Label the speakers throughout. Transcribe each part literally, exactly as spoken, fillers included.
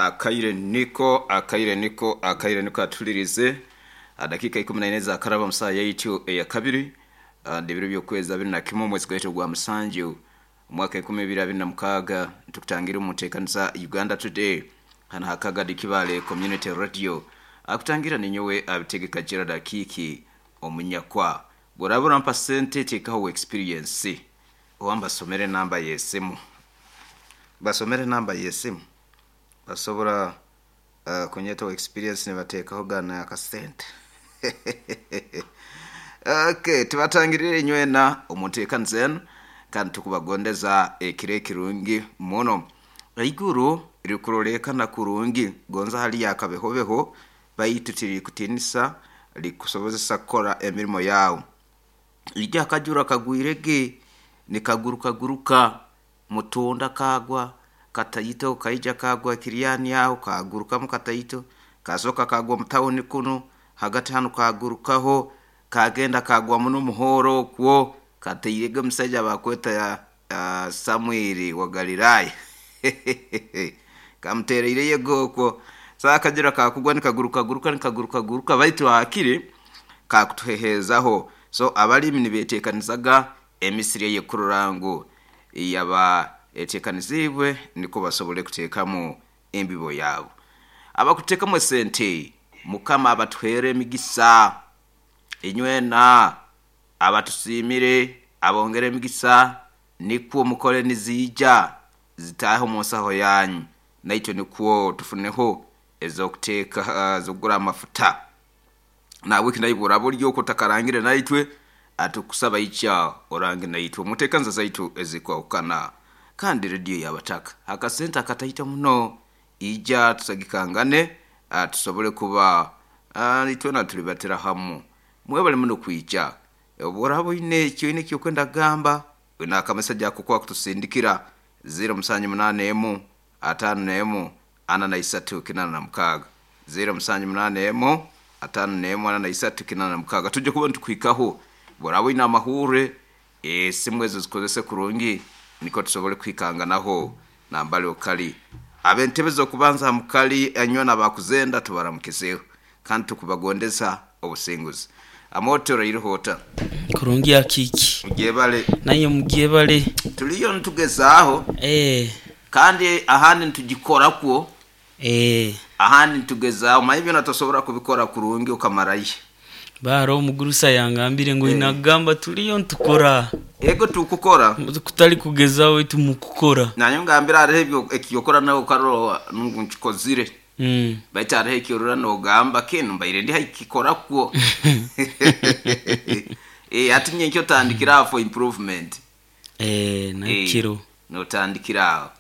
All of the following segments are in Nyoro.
Speaker 1: Akaire niko akaire niko akaire niko atulirize dakika ikumi na ine za karaba musaa yaitu eya kabiri, ndibiro by'okwezi abiri na kimwe, omwezi gwaitu gwa musanju, omwaka enkumi ibiri abiri na mukaaga. Ntukutangira omu nteekaniza Uganda Today hano hakagadi Kibale Community Radio. Akutangira ninyowe Abitegeka Gerard Akiiki Omunyakwa. Bworaba orampa sente, teekaho experience oba mbasomere namba y'esimu, basomere namba y'esimu basobora uh, kunyetaho experience nibateekaho gana akasente. Okay, tubatangirire inywena omu nteekaniza enu kandi tukubagondeza ekiro ekirungi muno. Eiguru rikuroleekana kurungi, gonza haliyo akabehobeho, baitu tirikutinisa, likusobozesa kukora emirimo yawe. Ijya akajura kagwirege nikagurukaguruka mutunda, kagwa kataito, kaija kagwa Kiryani aho, kagurukamu kataito, kasoka kagwa mutawuni kuno hagati hano, kagurukaho kagenda kagwa muno muhoro okwo, kateirege omusaija bakweta ya uh, Samuiri wa Galilaya, kamutereire okwo. Saa akajura kakugwa nikagurukaguruka nikagurukaguruka, baitu hakiri kakutuhehezaho. So abalimi nibetekanizaga emisiri eyekurora ngu yaba etekanizibwe niko basobole kuteekamu embibo yabo. Abakuteekamu esente, Mukama abatuhere emigisa inywena. Abatusiimire abongere emigisa, nikwo mukole niziija zitaahe omu nsaho yanyu, naitwe nikwo tufuneho ez'okuteeka, z'okugura amafuta. Nahabweki naibwe oraba ori okwo otakarangire naitwe, atukusaba ikya orange naitwe omu nteekaniza zaitu ezikwahukana kandi rediyo y'abataka. Akasente akataito muno, ija tusagikangane, tusobole kuba itwena tulibatira hamu. Mwebale muno kwija. Obu oraba oine eki oine ekyokwenda kugamba, oine akameseji ako kwakutusindikira ziro musanju munaana emu ataano n'emu ana na isatu kinaana na mukaaga, ziro musanju munaana emu ataano n'emu ana na isatu kinaana na mukaaga. Tujja kuba nitukuhikaho. Bworaba oine amahurre, esimu ezo zikozese kurungi nikwo tusobole kuhikanganaho nambali okali. Ab'entebe z'okubanza ha mukali anywena abakuzenda, tubaramukizeho kandi tukubagondeza obusinguzi. Amote, oraireho ota?
Speaker 2: Kurungi, Akiiki.
Speaker 1: Mugyebale.
Speaker 2: Naye mugyebale.
Speaker 1: Tuliyo nitugezaaho
Speaker 2: eh
Speaker 1: kandi ahandi nitugikorakwo,
Speaker 2: eh
Speaker 1: ahandi nitugezaaho. Manye byona tosobora kubikora kurungi okamarayo.
Speaker 2: Baara omugurusa yangambire ngu
Speaker 1: Eh.
Speaker 2: inagamba tuliyo ntukora.
Speaker 1: Ego, tukukora.
Speaker 2: Kutali kugezaho waitu mukukora.
Speaker 1: Nanye ngambira hariho ebyo ekiyokora nawe okarora ngu nkikozire,
Speaker 2: mm.
Speaker 1: baitu hariho ekyorora nogamba kinu mbaire ndi haikikorakwo. Eh, ati nyenkyo otandikira aho for improvement.
Speaker 2: eh nakiro.
Speaker 1: Notandikira aho.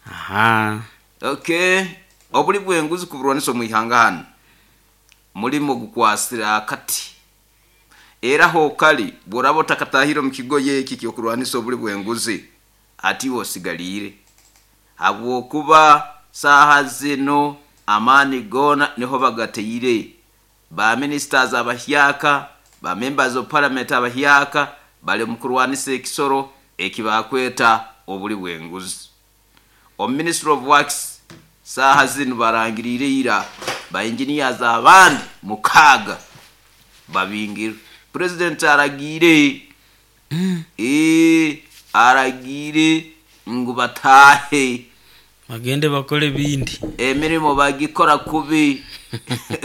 Speaker 2: Aha.
Speaker 1: Okay, obuli bwenguzi kuburwanisa omu ihanga hano mulimo gukwasira akati, era hokali bworaba otakatahire omu kigoye eki kyokurwanisa obuli bwenguzi, ati iwe osigaliire, habwokuba saaha zino amaani goona niho bagateire. Ba ministers abahyaka, ba members of parliament abahyaka bali mu kurwanisa ekisoro ekibakweta obuli bwenguzi. Omu Ministry of Works saaha zinu barangiriire ira ba engineers abandi mukaaga babingirwe. President aragiire, ee aragiire ngu bataahe.
Speaker 2: Bagende bakole bindi.
Speaker 1: Emirimo bagikora kubi.